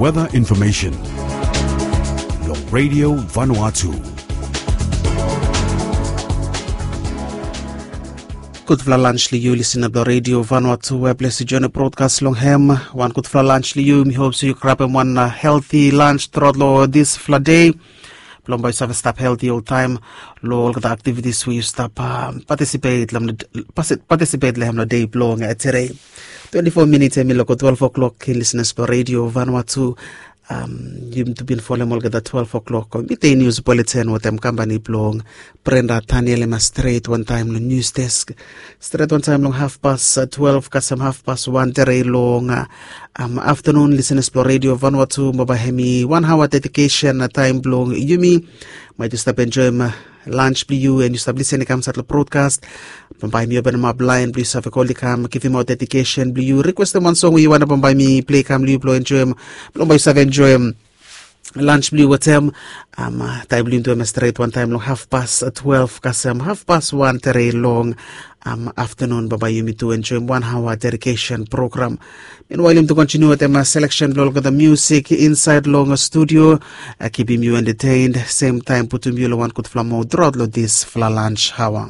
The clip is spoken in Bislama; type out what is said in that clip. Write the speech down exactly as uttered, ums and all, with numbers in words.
Weather information. Long Radio Vanuatu. Gudfala lans long yu, lisina blong Radio Vanuatu we ples yu join brodkas long hem. Wan gudfala lans long yu. Mi hop se yu grabem wan helti lans trot long disfala dei blong bae yu save stap helti oltaem long olgeta aktivitis we yu stap patisipet long hem long dei blong tede. Twenti fo minits hemi long go twelve o'clock, lisinas blong Radio Vanuatu. Yumi tu bin folem olgeta twelve o'clock, mite nius, buletin wetem kampani blong Brenda Taniel. Hemia stret wantaem long nius desk, stret wantaem long hafpas twelve kasem hafpas wan tere long aftanun. Lisinas blong Radio Vanuatu, bambae hemi wan haoa dedikesen taem blong yumi. Maet yu stap enjoem lans blong yu and yu stap lisen i kam insait long brodkas, bambae mi openemap laen blong yu save kol i kam givimaot dedikesen blong yu, rikwestem wan song we yu wantem bambae mi plei kam long yu blong enjoem, blong bae yu save enjoem lans blong yu wetem. Taem blong yumi tu hemia stret wantaem long hafpas twelve kasem hafpas wan tere long aftanun, bambae yumi tu enjoem wan haoa dedikesen program. Minwael yumi tu kontiniu wetem seleksen blong olgeta musik insait long studio, kipim yu entetened, semtaem putum yu long wan gudfala mod trot long disfala lans haoa.